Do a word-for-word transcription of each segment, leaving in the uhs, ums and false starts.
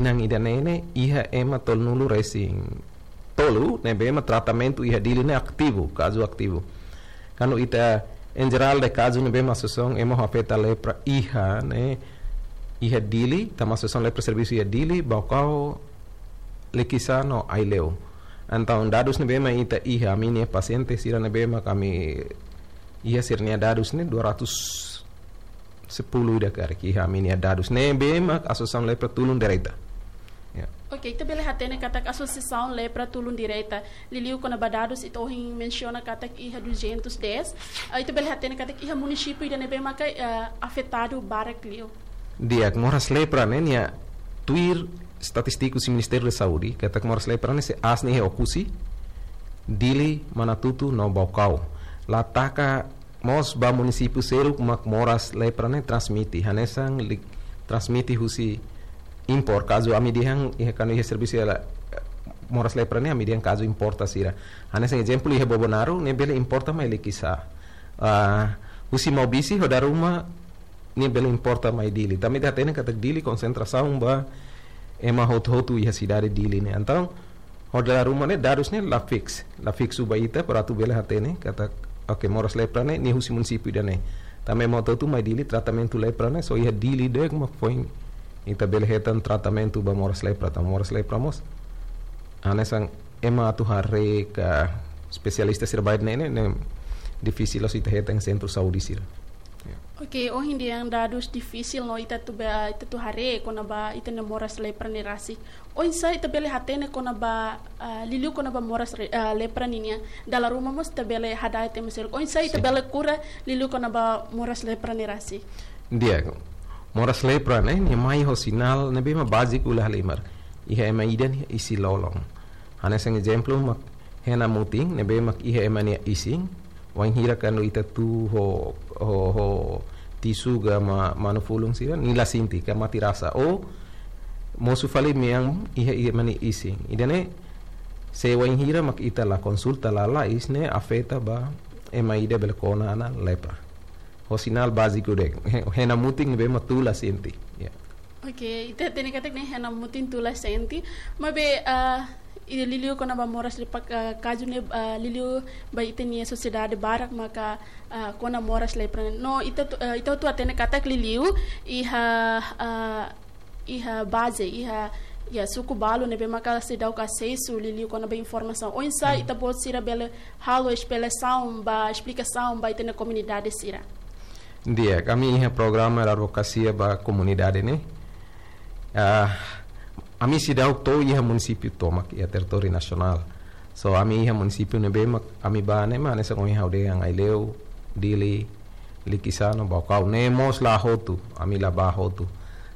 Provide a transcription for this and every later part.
Nang ida ne'e ne'e iha ema tolunulu resin tolu ne'ebé mak tratamentu iha Dili ne'e ativu, kazu ativu. Kuandu ita em geral de kazu ne'ebé mak asosiasaun ema ho afeta lepra iha ne'e iha Dili, tanba asosiasaun lepra servisu iha Dili, Baucau, Likisá no Aileu. Entaun dadus ne'ebé mak ita iha ami-nia pasiente sira ne'ebé mak ami iha sira-nia dadus ne'e dua ratus sepuluh ida karik iha ami-nia dadus ne'ebé mak asosiasaun lepra tulun direta. Ya. Oke, ita bele hatene katak asosiasaun lepra tulun direta. Liuliu kona-ba dadus ita ohin mensiona katak iha duzentos dez. Ah, ita bele hatene katak iha munisípiu ida ne'ebé maka, eh, afetadu barak liu. Di'ak, moras lepra ne'e nia tuir estatístiku husi Ministériu da Saúde, katak moras lepra ne'e sei aas ne'e iha Oekusi, Dili, Manatuto no Baucau. La taka mós ba munisípiu seluk mak moras lepra ne'e transmite, hanesan li-, transmite husi impor. Kazu ami dehan, iha kuandu iha servisu iha la-, moras lepra ne'e ami dehan kazu importa sira. Hanesan ezemplu iha Bobonaro, ne'e bele importa mai Likisá. Ah, husi Maubisse ho Dala Ruma, ne'e bele importa mai Dili. Tanba ita hatene katak Dili konsentrasaun ba ema hotu-hotu iha sidade Dili ne'e. Entaun, ho Dala Ruma ne'e dadus ne'e la fix, la fiksu ba ita para atu bele hatene katak, oke, moras lepra ne'e nia husi munisípiu ida ne'e. Tanba ema hotu-hotu mai Dili, tratamentu lepra ne'e só iha Dili de'it mak foin ita bele hetan tratamentu ba moras lepra, tanba moras lepra mós hanesan ema atu haree ka espesialista sira ba ne'e ne'e, ne'e difisil loos ita hetan sentru saúde sira. Ya. Oke, ohin dehan dadus difisil no ita atu ba, ita atu haree kona-ba ita-nia moras lepra ne'e rasik. Oinsá ita bele hatene kona-ba, ah, liuliu kona-ba moras re-, ah, lepra ninian. Dala ruma mós ita bele hada'et ema seluk. Oinsá ita Sin. bele kura liuliu kona-ba moras lepra ne'e rasik. Di'ak, moras lepra ne'e, nia mai ho sinál ne'ebé mak báziku la halimar. Iha ema ida nia isin-lolon. Hanesan ezemplu mak hena mutin, ne'ebé mak iha ema nia isin, wainhira kuandu ita tuur ho, ho, ho tisu ka ma-, manu-fulun sira, nia la sente ka mate rasa. Ou mosu fali mean iha, iha ema nia isin. Ida ne'e, se wainhira mak ita la konsulta lalais ne'e afeta ba ema ida bele kona ona lepra. Ho sinál báziku de'it. He-, hena mutin ne'ebé mak tuur la sente. Ya. Oke, ita hatene katak ne'e hena mutin tuur la sente. Maibé, ah, i liuliu kona-ba moras lepra, ah, kazu ne'e, ah, liuliu ba ita-nia sosiedade barak maka, ah, kona moras lepra. No, ita atu, ah, ita atu hatene katak liuliu iha, ah, iha baze, iha, iha suku balu ne'ebé maka seidauk asesu liuliu kona-ba informasaun. Oinsá Hmm. ita-boot sira bele halo esplikasaun ba, esplikasaun ba ita-nia komunidade sira. Di'ak, ami iha programa advokasia ba komunidade ne'e. Ah, ami seidauk to'o iha munisípiu tomak iha territóriu nasionál. So, ami iha munisípiu ne'ebé mak ami bá ne'e mak hanesan ohin ha'u dehan Aileu, Dili, Likisá no Baucau. Ne'e mós la hotu, ami la bá hotu.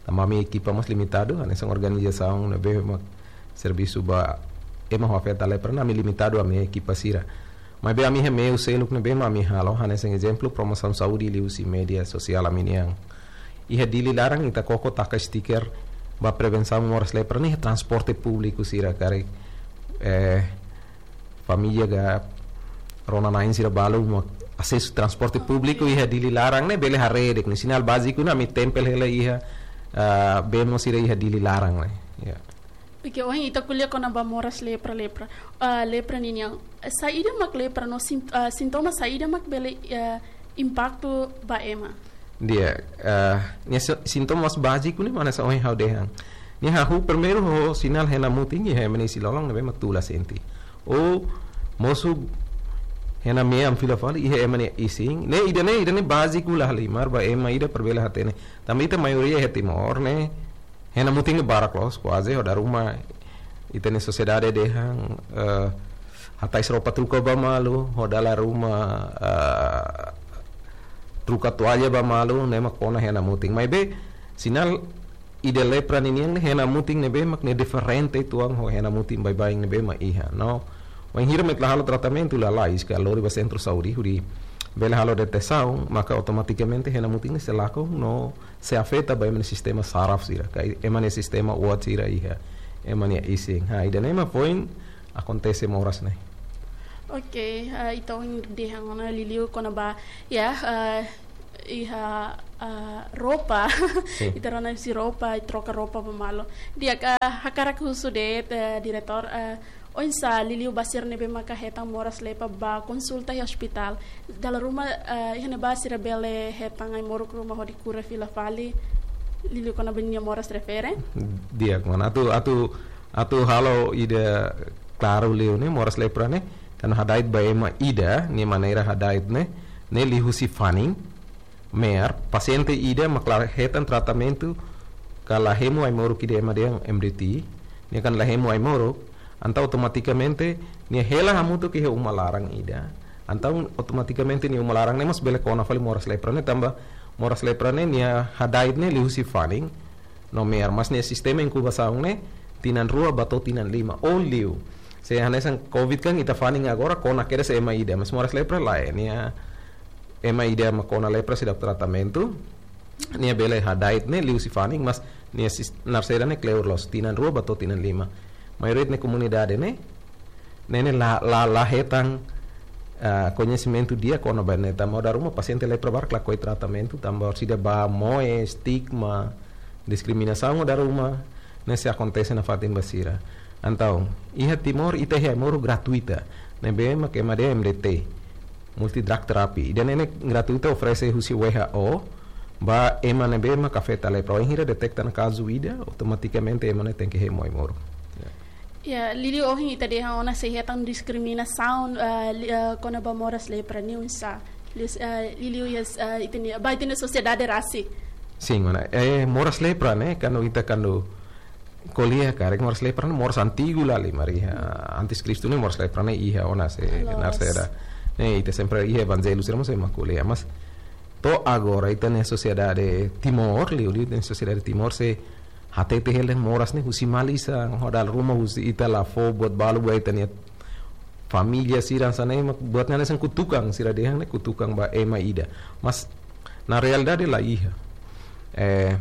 Tanba ami ekipa mós limitadu, hanesan organizasaun ne'ebé mak servisu ba ema ho afeta lepra ne'e ami limitadu ami ekipa sira. Maibé ami iha meiu seluk ne'ebé mak ami halo, hanesan ezemplu promosaun saúde liuhusi média sosiál ami-nian. Iha Dili laran ita koko taka stiker ba prevensaun moras lepra ne'e iha transporte públiku sira karik, eh, família ka rona-na'in sira balu mak asesu transporte públiku iha Dili laran ne'e bele haree de'it ne'e sinál báziku ne'e ami tempel hela iha, ah, bemo sira iha Dili laran ne'e. Ya. Oke, ohin ita ko'alia kona-ba moras lepra, lepra. Ah, lepra ninian. Saida mak lepra no sin-, ah, sintoma saida mak bele, ah, impaktu ba ema. Di'ak, ah, nia si-, sintoma mós báziku ne'e mak hanesan ohin ha'u dehan. Nia hahú primeiru ho sinál hena mutin iha ema nia isin-lolon ne'ebé mak tuur la sente. Ou mosu hena mean fila fali iha ema nia isin. Ne'e ida ne'e, ida ne'e báziku la halimar ba ema ida para bele hatene. Tanba ita maioria iha Timor ne'e hena mutin ne'e barak loos, kuaze ho Dala Ruma ita-nia sosiedade dehan, eh, hatais roupa truka ba malu, ho Dala Ruma, eh, truka toalla ba malu, ne'e mak kona hena mutin. Maibé, sinál ida lepra ninian ne'e hena mutin ne'ebé mak ne'e diferente uitoan ho hena mutin baibain ne'ebé mak iha. No, wainhira mak ita la halo tratamentu lalais ka lori ba sentru saúde hodi bele halo detesaun, maka automatikamente hena mutin ne'e sei lakon no sei afeta ba ema nia sistema saraf sira, ka ema nia sistema uat sira iha ema nia isin. Ha, ida ne'e mak foin akontese moras ne'e. Oke, ah, ita ohin dehan ona liuliu kona-ba, ya, ah, iha ah, roupa. Sin. Ita rona husi roupa, i troka roupa ba malu. Di'ak, ah, hakarak husu de'it, eh, diretór, eh, oinsá liuliu ba sira ne'ebé maka hetan moras lepra ba konsulta iha ospitál. Dala ruma, eh, iha ne'ebá sira bele hetan ai-moruk ruma hodi kura fila fali, liuliu kona-ba nia moras refere? Di'ak, mana. Atu, atu, atu halo ida klaru liu ne'e, moras lepra ne'e, kuandu hada'et ba ema ida, nia maneira hada'et ne'e, ne'e liuhusi fanin, maibé pasiente ida mak la hetan tratamentu, ka la hemu ai-moruk ida ema dehan M D T, nia kan la hemu ai-moruk, entaun automatikamente nia hela hamutuk iha uma laran ida. Entaun automatikamente nia uma laran ne'e mós bele kona fali moras lepra ne'e, tanba moras lepra ne'e nia hada'et ne'e liuhusi fanin no maibé, mas nia sistema inkubasaun ne'e tinan rua ba to'o tinan lima, ou liu. Se hanesan covid kan ita fanin agora kona kedas ema ida, mas moras lepra lae, nia ema ida mak kona lepra seidauk tratamentu, nia bele hada'et ne'e liuhusi fanin, mas nia sis-, narsera ne'e kleur loos, tinan rua ba to'o tinan lima. Maioria ita-nia komunidade ne'e, ne'e ne'e la, la, la hetan, ah, koñesimentu di'ak kona-ba ne'e, tanba dala ruma pasiente lepra barak lakohi tratamentu, tanba orsida ba moe, estigma, diskriminasaun dala ruma, ne'e sei akontese nafatin ba sira. Entaun, iha Timor ita iha ai-moruk gratuita, ne'ebé mak ema dehan M D T, multi drug therapy. Ida-ne'e ne'e gratuita, oferese husi W H O ba ema ne'ebé mak afeta lepra. Wainhira deteta ona kazu ida, automatikamente ema ne'e tenke hemu ai-moruk. Ya. Ya, liuliu ohin ita dehan ona sei hetan diskriminasaun, eh, li-, eh, kona-ba moras lepra ne'e oinsá. Liu-, eh, liuliu iha, eh, ita-nia, ba ita-nia sosiedade rasik. Sin, mana. Eh, moras lepra ne'e, kuandu ita kuandu ko'alia karik, moras lepra ne'e moras antigu liu, mari iha antes Kristu ne'e moras lepra ne'e iha ona, se Loos. Narsera. Ne'e ita sempre iha evanjellu sira mós ema ko'alia, mas to'o agora ita-nia sosiedade Timor, liuliu ita-nia sosiedade Timor sei hatete hela moras ne'e husi malisan, ho dala ruma husi ita la fó buat balu ba ita-nia família sira, hanesan ne'e mak buat hanesan kutukan, sira dehan ne'e kutukan ba ema ida. Mas na realidade la iha. Eh,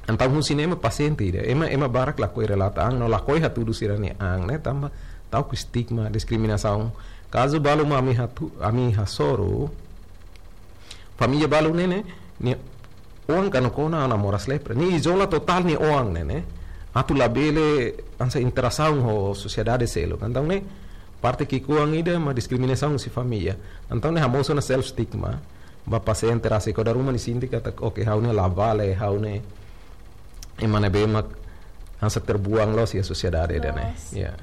entaun husi ne'e mak pasiente ida, ema, ema barak lakohi relata an, no lakohi hatudu sira-nia an ne'e, tanba ta'uk estigma, diskriminasaun. Kazu balu mak ami hatu-, ami hasoru, família balu ne'e ne'e, nia oan kuandu kona ona moras lepra, nia izola totál nia oan ne'e ne'e, atu labele hanesan interasaun ho sosiedade seluk. Entaun ne'e parte ki'ikoan ida mak diskriminasaun husi família. Entaun ne'e hamosu ona self stigma ba pasiente rasik, ho dala ruma nia sente katak, oke, ha'u ne'e la vale, ha'u ne'e ema ne'ebé mak hanesan terbuang loos iha sosiedade ida ne'e. Loos. Ya.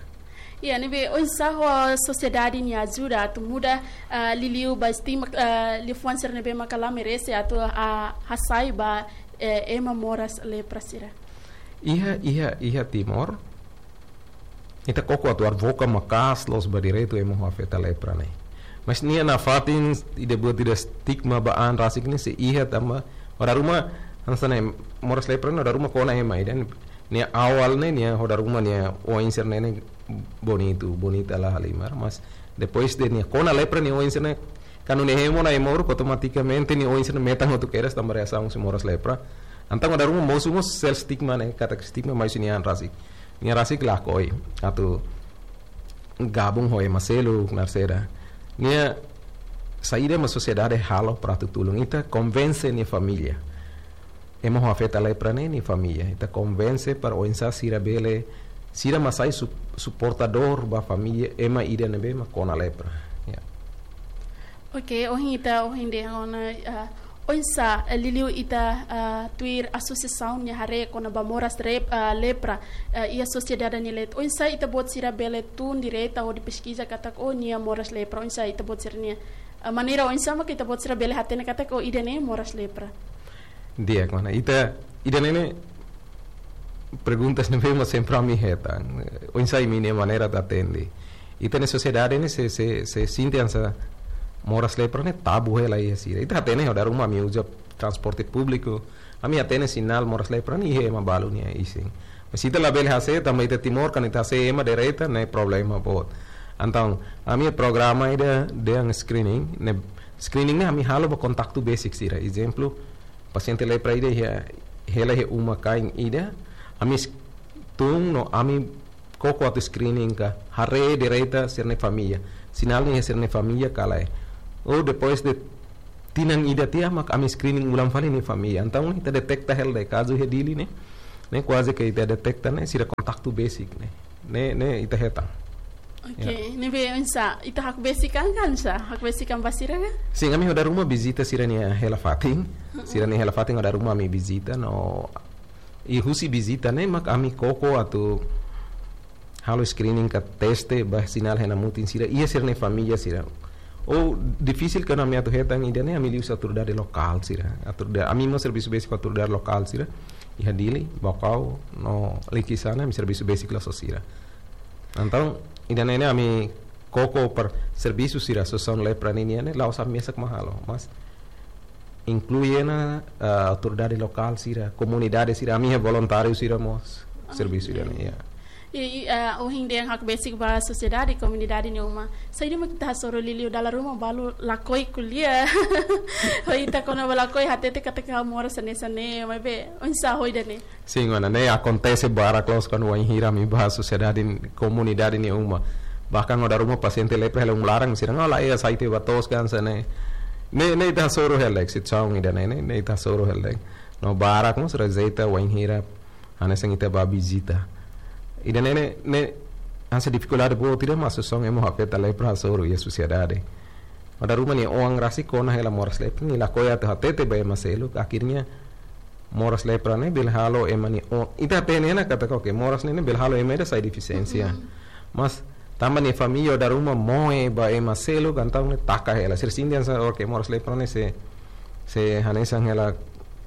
Ya, ne'ebé oinsá ho sosiedade nia ajuda atu muda, ah, liuliu ba estigma, ah, liafuan sira ne'ebé maka la merese atu, ah, hasai ba, eh, ema moras lepra sira. Iha, iha, iha Timor, ita koko atu advoka maka'as loos ba direitu ema ho afeta lepra ne'e. Mas nia nafatin ida buat ida estigma ba an rasik ne'e sei iha tanba ho dala ruma hanesan ne'e moras lepra ne'e ho dala ruma kona ema ida, nia awal ne'e nia ho dala ruma nia oin sira ne'e ne'e bonitu, bonita la halimar, mas depois de nia kona lepra nia oin sira ne'e, kuandu nia hemu ona ai-moruk automatikamente nia oin sira ne'e metan hotu kedas tanba reasaun husi moras lepra. Entaun ho dala ruma mosu mós self stigma ne'e, katak estigma mai husi nia an rasik. Nia rasik lakohi atu gabung ho ema seluk, narsera. Nia saida mak sosiedade halo para atu tulun? Ita konvense nia família. Ema ho afeta lepra ne'e nia família. Ita konvense para oinsá sira bele, sira mak sai sup-, suportadór ba família ema ida ne'ebé mak kona lepra. Ya. Oke, ohin ita, ohin dehan ona, ah, oinsá, eh, liuliu ita, ah, tuir asosiasaun nia haree kona-ba moras rep-, ah, lepra, eh, iha sosiedade nia leet. Oinsá ita-boot sira bele tun direta hodi peskiza katak, oh, nia moras lepra. Oinsá ita-boot sira-nia, ah, maneira oinsá mak ita-boot sira bele hatene katak, oh, ida-ne'e moras lepra? Di'ak, mana. Ita, ida-ne'e ne'e perguntas ne'ebé mak sempre ami hetan. Oinsá imi-nia maneira atu atende? Ita-nia sosiedade ne'e sei, sei, sei sente hanesan moras lepra ne'e tabu hela iha sira. Ita hatene ho dala ruma ami uza transporte públiku, ami hatene sinál moras lepra ne'e iha ema balu nia isin. Mas ita labele hase'e, tanba ita Timor, kuandu ita hase'e ema direta ne'e problema boot. Entaun, ami programa ida dehan screening, ne'e screening ne'e ami halo ba kontaktu besik sira. Ezemplu, pasiente lepra ida iha, hela iha uma-kain ida, ami s-, tun no ami koko atu screening ka, haree direta sira-nia família. Sinál ne'e iha sira-nia família ka lae. Ou depois de tinan ida tiha mak ami screening ulang fali nia família. Entaun ne'e ita deteta hela de'it kazu iha Dili ne'e. Ne'e kuaze ke ita deteta ne'e sira kontaktu besik ne'e. Ne'e, ne'e ita hetan. Oke, ya. Ne'ebé oinsá, ita hakbesik an ka oinsá? Hakbesik an ba sira ka? Sin, ami ho dala ruma vizita sira-nia hela fatin. Sira-nia hela fatin ho dala ruma ami vizita no iha husi vizita ne'e mak ami koko atu halo screening ka teste ba sinál iha mutin sira, iha sira-nia família sira. Ou difisil kuandu ami atu hetan ida-ne'e ami liuhusi autoridade lokál sira. Autoridade, ami mós servisu besik ho autoridade lokál sira. Iha Dili, Baucau, no Likisá ne'e ami servisu besik loos ho sira. Entaun, ida-ne'e ne'e ami koko para servisu sira asosiasaun lepra ninian ne'e, la'ós ami mesak mak halo. Mas inklui ona, ah, autoridade lokál sira, komunidade sira, ami iha voluntáriu sira mós servisu ida-ne'e, ya. I, i, ah, ohin dehan hakbesik ba sosiedade, komunidade nia uma. Saida mak ita hasoru liuliu dala ruma balu lakohi ko'alia. Ho ita kona-ba lakohi hatete katak ha'u moras hanesan ne'e, maibé oinsá ho ida-ne'e? Sin, mana, ne'e akontese barak loos kuandu wainhira ami bá sosiedade, komunidade nia uma. Bahkan ho dala ruma pasiente lepra hela uma laran, sira dehan la iha site ba to'os ka hanesan ne'e. Ne'e, ne'e ita hasoru hela de'it, situasaun ida-ne'e, ne'e, ne'e ita hasoru hela de'it. No barak mós rejeita wainhira hanesan ita bá vizita. Ida-ne'e ne'e, ne'e hanesan difikuldade boot ida mak asosiasaun ema afeta lepra hasoru iha sosiedade. Ho dala ruma nia oan rasik kona hela moras lepra, nia lakohi atu hatete ba ema seluk, akhirnya moras lepra ne'e bele halo ema nia oan. Ita hatene ona katak, oke, moras ne'e, ne'e bele halo ema ida sai defisiénsia. Mhm. Mas tanba nia família ho dala ruma moe ba ema seluk, entaun ne'e taka hela. Sira sente hanesan, oke, moras lepra ne'e sei, sei hanesan hela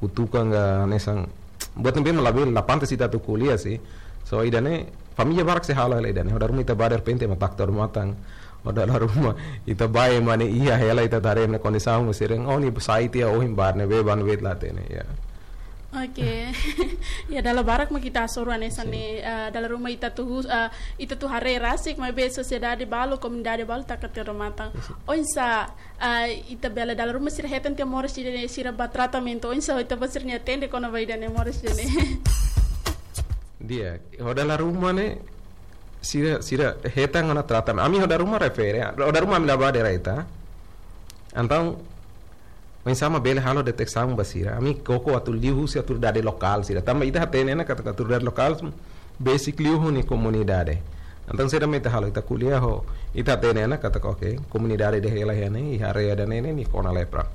kutukan ka hanesan buat ne'ebé mak labele, la pantas ita atu ko'alia sih. So, ida-ne'e família barak sei halo hela ida-ne'e. Ho dala ruma ita bá derrepente ema taka odamatan. Ho dala ruma ita bá ema ne'e iha hela, ita haree ema nia kondisaun, sira dehan, oh, nia sai tiha ohin, bá ne'ebé, bá ne'ebé, la hatene, ya. Oke. Ya, dala barak mak ita hasoru hanesan ne'e, eh, dala ruma ita atu hus-, eh, ita atu haree rasik, maibé sosiedade balu, komunidade balu taka tiha odamatan. Oinsá, eh, ita bele, dala ruma sira hetan tiha moras ida-ne'e, sira bá tratamentu, oinsá ita-boot sira-nia atende kona-ba ida-ne'e, moras ida-ne'e? Di'ak, ho dala ruma ne'e, sira, sira hetan ona tratamentu. Ami ho dala ruma refere, ho dala ruma ami la bá direta. Entaun, oinsá mak bele halo deteta ba sira. Ami koko atu liuhusi autoridade lokál sira. Tanba ita hatene ona katak autoridade lokál besik liu ho nia komunidade. Entaun saida mak ita halo, ita ko'alia ho, ita hatene ona katak, oke, komunidade ida hela iha ne'e, iha área ida-ne'e ne'e, nia kona lepra.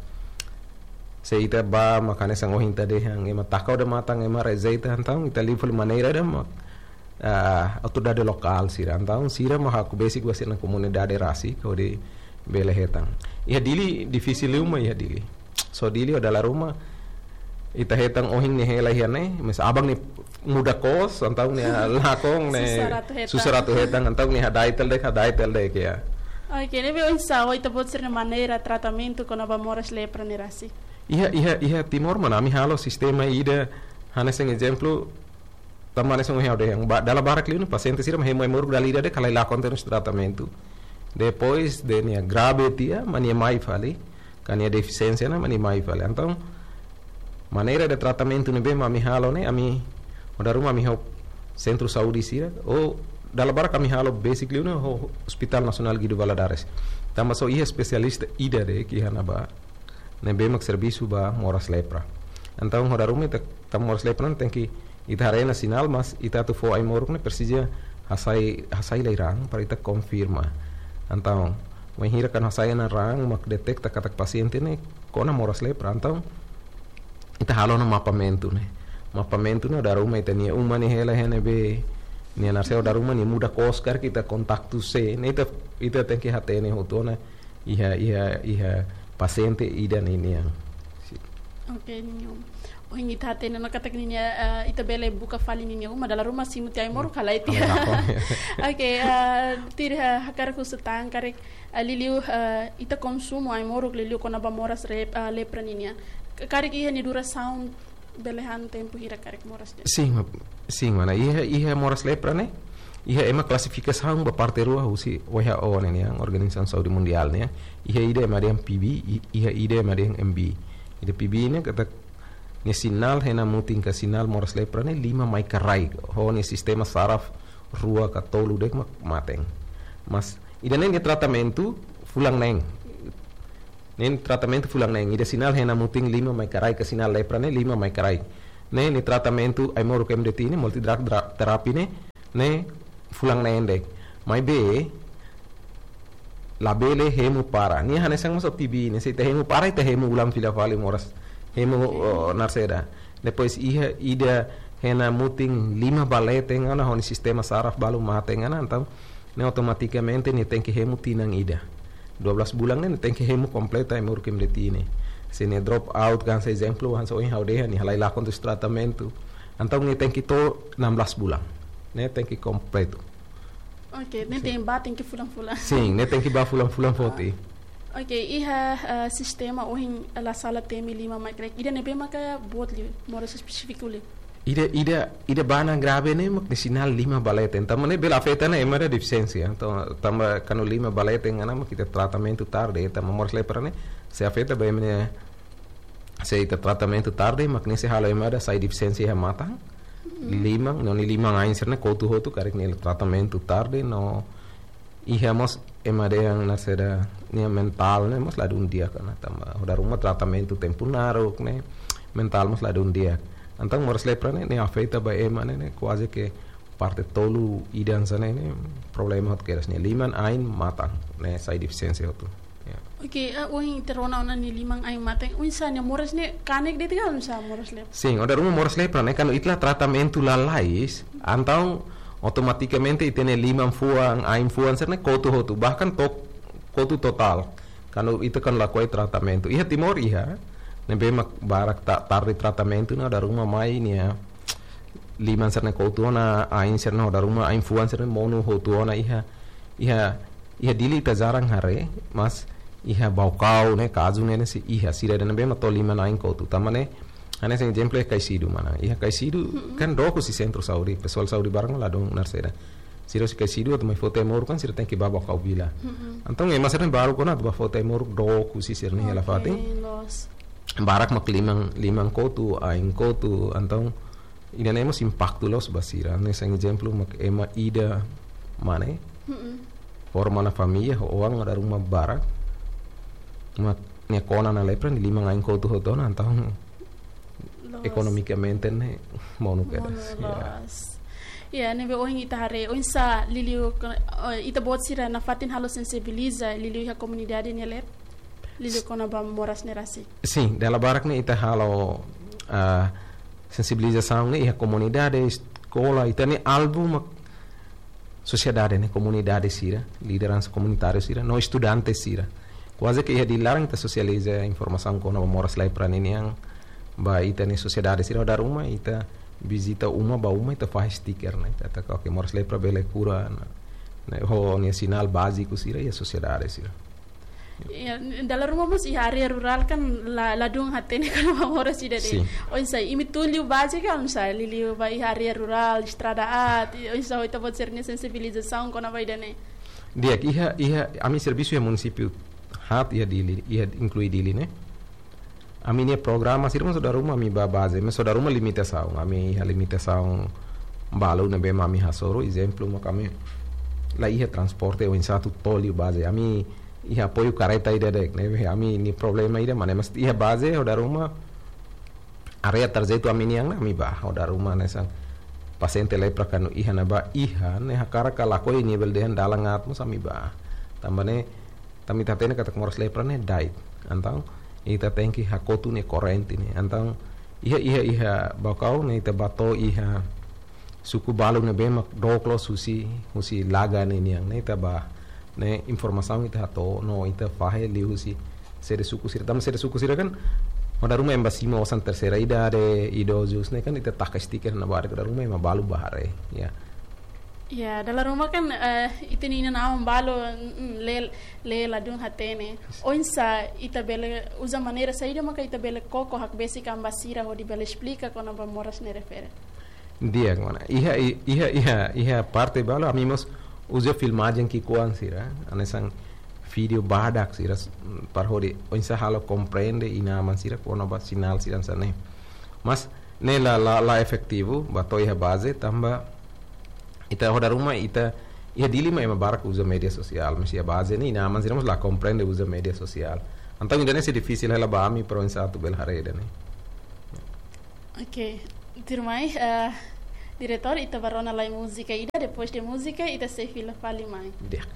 Se ita bá mak hanesan ohin ita dehan, ema taka odamatan, ema rejeita, entaun ita liu fali maneira ida mak, ah, autoridade lokál sira. Entaun sira mak hakbesik ba sira-nia komunidade rasik hodi bele hetan. Iha Dili difisil liu mak iha Dili. So Dili ho dala ruma ita hetan ohin nia hela iha ne'e, mas aban ne'e muda kos, entaun nia lakon ne'e susar atu hetan. Susar atu hetan, entaun nia hada'et hela de'it, hada'et hela de'it, ya. Oke, ne'ebé oinsá ho ita-boot sira-nia maneira tratamentu kona-ba moras lepra ne'e rasik? Iha, iha, iha Timor, mana, ami halo sistema ida, hanesan ezemplu, tanba hanesan ohin ha'u dehan, ba, dala barak liu ne'e pasiente sira mak hemu ai-moruk dala ida de'it ka la lakon tiha ona tratamentu. Depois de nia grave tiha, mak nia mai fali, ka nia defisiénsia ona, mak nia mai fali. Entaun, maneira de tratamentu ne'ebé mak ami halo ne'e, ami, ho dala ruma ami ho sentru saúde sira, ou dala barak ami halo besik liu ne'e, ho Hospital Nasionál Guido Valadares. Tanba só iha espesialista ida de'it iha ne'ebá, ne'ebé mak servisu ba moras lepra. Entaun, ho dala ruma ita, tanba moras lepra ne'e tenke, ita haree ona sinál, mas ita atu fó ai-moruk ne'e presiza hasai, hasai lai raan para ita konfirma. Entaun, wainhira kuandu hasai ona raan, mak deteta katak pasiente ne'e kona moras lepra. Entaun, ita halo ona mapamentu ne'e. Mapamentu ne'e ho dala ruma ita-nia uma ne'e hela iha ne'ebé, nia naseu, ho dala ruma nia muda kos karik, ita kontaktu sé, ne'e ita, ita tenke hatene hotu ona iha, iha, iha pasiente ida-ne'e nian. Si. Oke, niño. Ohin ita hatene ona katak ninia, eh, ita bele buka fali ninia uma, dala ruma simu tiha ai-moruk ka lae tiha. Ka lae tiha. Oke, eh, tuir, eh, hakarak husu tan karik, eh, liuliu, eh, ita konsumu ai-moruk liuliu kona-ba moras rep-, eh, lepra ninian. K-, karik iha nia durasaun bele han tempu hira karik moras ida? Sin, ma-, sin, mana, iha, iha moras lepra ne'e, iha ema klasifikasaun ba parte rua husi W H O ne'e nian, Organizasaun Saúde Mundiál ne'e. Iha ida ema dehan P B, i-, iha ida ema dehan M B. Ida P B ne'e katak nia sinál iha mutin ka sinál moras lepra ne'e lima mai ka rai, ho nia sistema saraf rua ka tolu de'it mak maten. Mas ida-ne'e nia tratamentu fulan neen. Ne'e tratamentu fulan neen, ida sinál hena mutin lima mai kraik, ka sinál lepra ne'e lima mai kraik. Ne'e, ne'e tratamentu ai-moruk M D T ne'e, multi drug dra-, therapy ne'e, ne'e fulan neen de'it. Maibé, labele hemu para. Nia hanesan mós T B ne'e, se ita hemu para, ita hemu ulang fila fali moras. Hemu, oh, narseda. Depois iha ida hena mutin lima ba leten ona, ho nia sistema saraf balu mate ona, entaun ne'e automatikamente nia tenke hemu tinan ida. Dua belas bulan ne'e nia tenke hemu kompletu ai-moruk M D T ne'e. Se nia drop out kan, se ezemplu, hanesan ohin ha'u dehan, nia halai lakon husi tratamentu. Entaun nia tenke to'o enam belas bulan. Ne'e tenke kompletu. Oke, ne'e Sin. tenke ba, tenke fulan-fulan. Sin, ne'e tenke ba fulan-fulan foti. Oke, iha, eh, sistema ohin la sala temi lima mai kraik. Ida ne'ebé maka boot liu, moras espesífiku liu. Ida, ida, ida ba ona grave ne'e mak nia sinál lima ba leten. Tanba ne'e bele afeta ona ema ida defisiénsia. Entaun, tanba kuandu lima ba leten ona mak ita tratamentu tarde, tanba moras lepra ne'e sei afeta ba ema ne'e, se ita tratamentu tarde, mak ne'e sei halo ema ida sai defisiénsia iha matan. Mm. Liman, no nia liman-ain sira-ne'e kotu hotu, karik nia tratamentu tarde, no iha mós ema dehan narseda, nia mentál ne'e mós ladún di'ak ona, tanba ho dala ruma tratamentu tempu naruk ne'e, mentál mós ladún di'ak. Entaun moras lepra ne'e, ne'e afeta ba ema ne'e, ne'e kuaze ke parte tolu ida hanesan ne'e, ne'e problema hotu kedas ne'e, liman, ain, matan ne'e sai defisiénsia hotu. Ya. Oke, eh, ohin ita rona ona nia liman, ain, matan, oinsá nia moras ne'e, kanek de'it ka oinsá moras lepra? Sin, ho dala ruma moras lepra ne'e, kuandu ita la tratamentu lalais, entaun automatikamente ita-nia liman fuan, ain fuan sira-ne'e kotu hotu, bahkan to'o kotu totál. Kuandu ita kan lakohi tratamentu. Iha Timor iha, ne'ebé mak barak ta-, tarde tratamentu ne'e ho dala ruma mai nia liman sira-ne'e kotu ona, ain sira-ne'e ho dala ruma, ain fuan sira-ne'e monu hotu ona iha, iha, iha Dili ita jarang haree, mas iha Baucau ne'e, kazu ne'e, ne'e sei iha, sira ida ne'ebé mak to'o liman, ain kotu. Tanba ne'e, hanesan ezemplu iha Kaixidu mana. Iha Kaixidu Mm-mm. kan dook husi sentru saúde, pesoál saúde barak ladún narseda. Sira husi Kaixidu atu mai foti ai-moruk kan sira tenke ba Baucau vila. Mm-mm. Entaun ema sira-ne'e barak ona atu ba foti ai-moruk dook husi sira-nia hela Oke, fatin. loos. Barak mak liman, liman kotu, ain kotu, entaun ida-ne'e mós impaktu loos ba sira. Hanesan ezemplu mak ema ida mane, Mm-mm. forma ona família, ho oan ho dala ruma barak. Mak nia kona ona lepra, nia liman, ain kotu hotu ona, entaun Loos. ekonomikamente ne'e monu kedas. Monu Ya. loos. Ya, ne'ebé ohin ita haree, oinsá liuliu ko-, eh, ita-boot sira nafatin halo sensibiliza, liuliu iha komunidade nia leet, liuliu kona-ba moras ne'e rasik. Sin, dala barak ne'e ita halo, ah, sensibilizasaun ne'e iha komunidade, eskola, ita-nia alvu mak sosiedade ne'e, komunidade sira, lideransa komunitáriu sira, no estudante sira. Kuaze ke iha Dili laran ita sosializa informasaun kona-ba moras lepra ninian ba ita-nia sosiedade sira, ho dala ruma ita vizita uma ba uma, ita fahe stiker ne'e. Ita hataka, oke, moras lepra bele kura ona, ne'e, ho nia sinál báziku sira iha sosiedade sira. Ya, dala ruma mós iha área rurál kan la, ladún hatene kona-ba moras ida-ne'e. Sin. Oinsá, imi tun liu baze ka oinsá, liuliu ba iha área rurál, estrada aat, oinsá ho ita-boot sira-nia sensibilizasaun kona-ba ida-ne'e? Di'ak, iha, iha, ami servisu iha munisípiu haat iha Dili, iha inklui Dili ne'e. Ami-nia programa sira mós ho dala ruma ami ba baze, mas ho dala ruma limitasaun, ami iha limitasaun balu ne'ebé mak ami hasoru, ezemplu mak ami la iha transporte oinsá atu to'o liu baze. Ami iha apoiu kareta ida de'it, ne'ebé ami-nia problema ida, maibé iha baze ho dala ruma área tarjetu ami nian ne'e ami ba, ho dala ruma hanesan pasiente lepra kuandu iha ne'ebá iha, ne'e hakarak ka lakohi, nia bele dehan dalan aat mós ami ba. Tanba ne'e, tanba ita hatene katak moras lepra ne'e da'et. Entaun ita tenke hakotu nia korrente ne'e. Entaun iha, iha, iha Baucau ne'e ita ba to'o iha suku balu ne'ebé mak dook loos husi, husi laga ne'e nian, ne'e ita ba, ne'e informasaun ita hato'o no ita fahe liuhusi sede suku sira. Tanba sede suku sira kan ho dala ruma ema ba simu osan terseira idade, idozus ne'e kan ita taka stiker ne'ebá de'it, ho dala ruma ema balu ba haree, ya. Ya, dala ruma kan, eh, ita-nia inan-aman balu, mm, lee, lee ladún hatene. Oinsá ita bele uza maneira saida maka ita bele koko hakbesik an ba sira hodi bele esplika kona-ba moras ne'e refere? Di'ak, mana. Iha, i-, iha, iha, iha parte balu ami mós uza filmajen ki'ikoan sira, hanesan vídeo badak sira, s-, para hodi oinsá halo komprende inan-aman sira kona-ba sinál sira hanesan ne'e. Mas ne'e la, la, la efetivu ba to'o iha baze, tanba ita ho dala ruma ita iha Dili mak ema barak uza média sosiál, mas iha baze ne'e inan-aman sira mós la komprende uza média sosiál. Entaun ida-ne'e sei difisil hela ba ami para oinsá atu bele haree ida-ne'e. Ok, tuirmai, eh, diretór, ita bá rona lai múzika ida, depois de múzika ita sei fila fali mai. Di'ak.